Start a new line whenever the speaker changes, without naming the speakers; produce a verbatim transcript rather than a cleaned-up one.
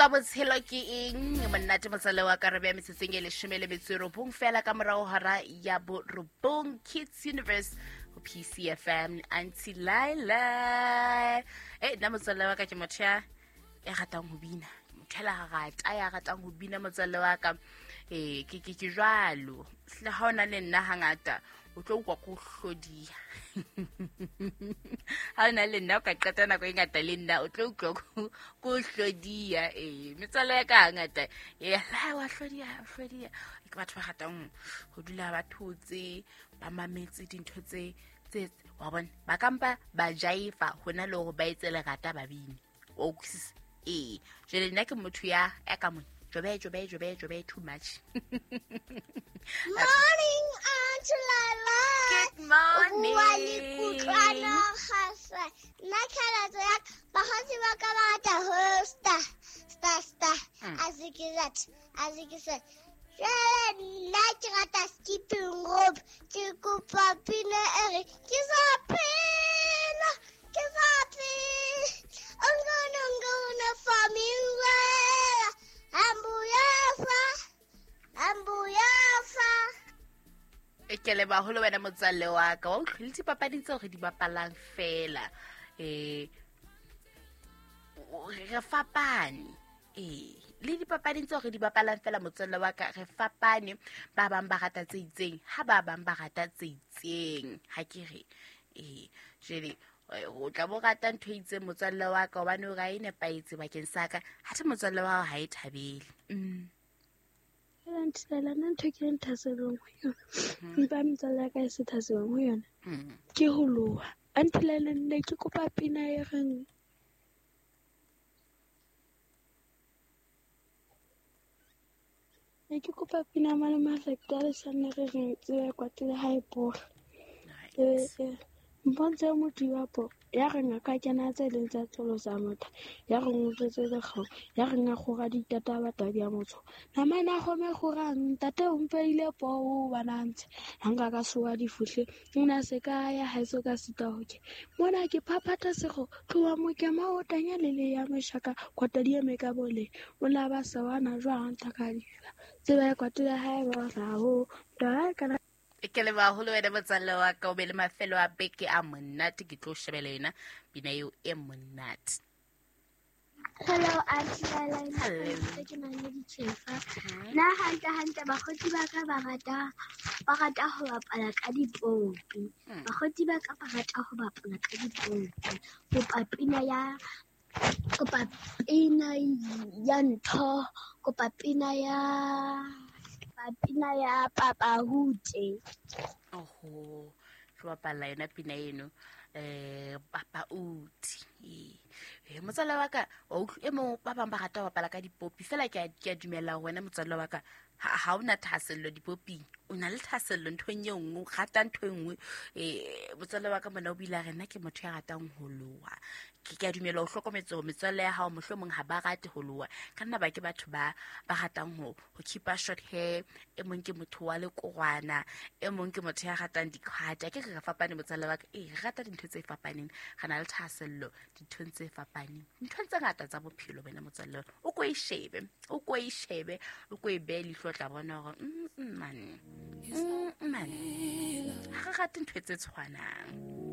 Keletso botshelo ke eng? Monate motswalle wa ka, re beha metsotsong e leshome le metso e robong fela ka morao hora ya borobong. Kids Universe ho P C F M, Auntie Laila. Eh, nna motswalle wa ka ke motho ya ya ratang ho bina. Motho ya rata ya ratang ho bina motswalle wa ka. Eh, ke ke ke jwalo. Le ha ona le nna hangata o tlo utlwa ko hlodiya. Ha ona le nna o ka qeta nako e ngata le nna o tlo utlwa ko hlodiya. Eh, metswalle ya ka hangata eh la wa hlodiya, hlodiya. Ke batho ba ratang ho dula ba thotse, ba mametse dintho tse tse wa bona. Ba kampa ba jaifa hona le hore ba etse lerata ba bine. O utlwisisa? Eh, jwale nna ke motho ya ya ka mona. Jobe jobe jobe jobe too much.
Morning, Auntie Laila.
Good morning.
Wa le kutlwana gasa. Nna keletso ya ka, bakgotsi ba ka ba rata ho star, star, star. A se ke that, a se ke se. Jwale nna ke rata skipping rope. Ke kopa pina e re, ke sa phela, ke sa phela. Ngono, ngono, for me, well. Ambuyafa, ambuyafa.
E ke le baholo wena motswalle wa ka, wa utlwile dipapading tseo re di bapalang fela. Eh, re fapane. Eh, le dipapading tseo re di bapalang fela motswalle wa ka, re fapane. Ba bang ba rata tse itseng, ha ba bang ba rata tse itseng. Ha ke re, eh, jwale o tla bo rata ntho e itseng motswalle wa ka hobane o ra e nepahetse bakeng sa ka, ha the motswalle wa hao ha e thabele. Mm.
Auntie Laila, nna ntho e ke leng thasellong ho yona, empa metswalle ya ka e se thasellong ho yona, ke ho loha. Auntie Laila, nne ke kopa pina e reng ne ke kopa pina ya Malome a Lesanne re reng tseba e kwatile ha e bora. Eh, eh, mpontshe motho wa po ya reng a ka kena tse leng tsa tsolo tsa motho, ya reng o tletse lekgau, ya reng a kgora ditata ba tadi ya motho. Namane a kgome kgorang, ntate o mpeile poo bana ntshe. Ha nka ka soa difuhle, o na se ka ya haeso ka sita ho ke. Mona ke phaphatha sekgo, tloha mokema o tanya le le ya meshaka, kwata di eme ka bole. O la ba sawana jwang tlaka difa. Tseba ya kwatile ha e ba ra ho. Twa ka
Ke le baholo wena motswalle wa ka, o be le mafelo a beke a monate. Ke tlo shebela yona pina eo e monate.
Hello, Auntie Laila.
Hello.
Ke na le ditjhefa. Nna hantle hantle bakgotsi ba ka ba rata, ba rata ho bapala ka dipopi. Bakgotsi ba ka ba rata ho bapala ka dipopi. Kopa pina ya, kopa pina ya ntho, kopa pina ya pina ya Papa Hute.
Oho, ke bapala yona pina eno, eh, Papa Hute. Eh, motswalle wa ka, wa utlw-, e mong ba bang ba rata ho bapala ka dipopi. Fela ke a, ke a dumela hore wena motswalle wa ka, ha, ha o na thahasello dipoping. O na le thahasello nthong e nngwe, o rata ntho e nngwe. Eh, motswalle wa ka mona o bile a re nna ke motho ya ratang ho loha. Ke, ke a dumela o hlokometse hore metswalle ya hao mohlomong ha ba rate ho loha. Ka nna ba ke batho ba, ba ratang ho, ho keep-a short hair. E mong ke motho wa lekorwana, e mong ke motho ya ratang dikhwata. Ke re re fapane motswalle wa ka. Eh, re rata dintho tse fapaneng. Re na le thahasello dinthong tse fapaneng. Dinthong tse ngata tsa bophelo wena motswalle. O ko e shebe, o ko e shebe, o ko e behe leihlo, o tla bona hore, mm, mm, man. Mm, man. Ha re rate ntho tse tshwanang.